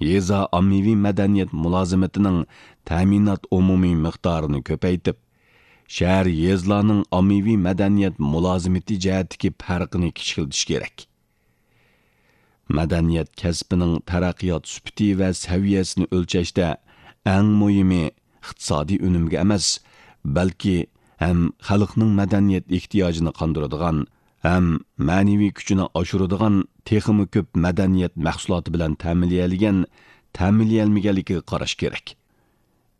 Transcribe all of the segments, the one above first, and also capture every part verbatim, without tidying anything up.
يېزا ئاممىۋى مەدەنىيەت مۇلازىمىتىنىڭ تەمىنات ئومۇمىي مىقدارىنى كۆپەيتىپ، شەھەر، يېزىلارنىڭ ئاممىۋى مەدەنىيەت مۇلازىمىتى جەھەتتىكى پەرقىنى كىچىكلىتىش كېرەك. مەدەنىيەت كەسپىنىڭ تەرەققىيات سۈپىتى ۋە سەۋىيەسىنى ئۆلچەشتە ئەڭ مۇھىمى ئىقتىسادىي ئۈنۈمگە ئەمەس، بەلكى ھەم خەلقنىڭ مەدەنىيەت ئېھتىياجىنى قاندۇرىدىغان، ھەم مەنىۋى كۈچىنى ئاشۇرىدىغان تېخىمۇ كۆپ مەدەنىيەت مەھسۇلاتى بىلەن تەمىنلىيەلىگەن، تەمىنلىيەلمىگەنلىكىگە قاراش كېرەك.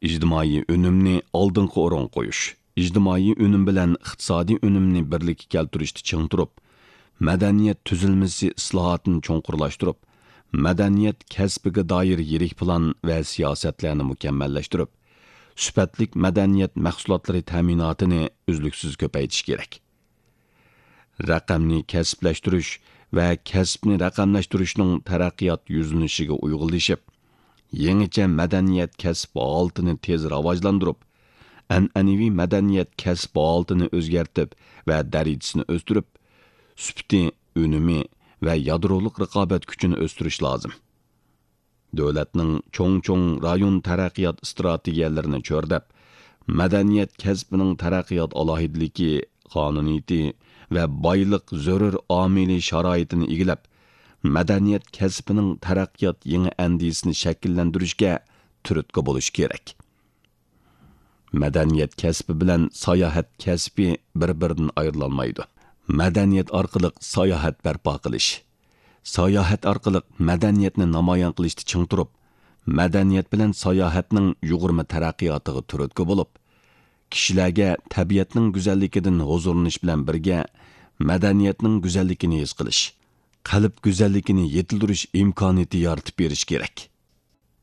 ئىجتىمائىي ئۈنۈمنى ئالدىنقى ئورۇنغا قويۇش، ئىجتىمائىي ئۈنۈم بىلەن ئىقتىسادىي ئۈنۈمنى بىرلىككە كەلتۈرۈشتە چىڭ تۇرۇپ، مەدەنىيەت تۈزۈلمىسى ئىسلاھاتىنى چوڭقۇرلاشتۇرۇپ، مەدەنىيەت كەسپىگە دائىر يىرىك پىلان ۋە سىياسەتلەرنى مۇكەممەللەشتۈرۈپ، سۈپەتلىك مەدەنىيەت مەھسۇلاتلىرى تەمىناتىنى ئۈزلۈكسىز كۆپەيتىش كېرەك. رەقەمنى كەسىپلەشتۈرۈش ۋە كەسىپنى رەقەملەشتۈرۈشنىڭ تەرەققىيات يۈزلىنىشىگە ئۇيغۇنلىشىپ، يېڭىچە مەدەنىيەت كەسىپ ھالىتىنى تېز راۋاجلاندۇرۇپ، ئەنئەنىۋى مەدەنىيەت كەسىپ ھالىتىنى ئۆزگەرتىپ ۋە دەرىجىسىنى ئۆستۈرۈپ، سۈپىتى، ئۈنۈمى ۋە يادرولۇق رىقابەت كۈچىنى ئۆستۈرۈش لازىم. دۆلەتنىڭ چوڭ-چوڭ رايون تەرەققىيات ئىستراتېگىيەلىرىنى چۆرىدەپ، مەدەنىيەت كەسپىنىڭ تەرەققىيات ئالاھىدىلىكى، قانۇنىيىتى ۋە بايلىق زۆرۈر ئامىلى شارائىتىنى ئىگىلەپ، مەدەنىيەت كەسپىنىڭ تەرەققىيات يېڭى ئەندىزىسىنى شەكىللەندۈرۈشكە تۈرتكە بولۇش كېرەك. مەدەنىيەت كەسپى بىلەن ساياھەت كەسپى بىر-بىرىدىن ئايرىلالمايدۇ. مەدەنىيەت ئارقىلىق ساياھەت بەرپا قىلىش، ساياھەت ئارقىلىق مەدەنىيەتنى نامايان قىلىشتا چىڭ تۇرۇپ، مەدەنىيەت بىلەن ساياھەتنىڭ يۇغۇرما تەرەققىياتىغا تۈرتكە بولۇپ، كىشىلەرگە تەبىئەتنىڭ گۈزەللىكىدىن ھۇزۇرلىنىش بىلەن بىرگە، مەدەنىيەتنىڭ گۈزەللىكىنى ھېس قىلىش، قەلب گۈزەللىكىنى يېتىلدۈرۈش ئىمكانىيىتى يارىتىپ بېرىش كېرەك.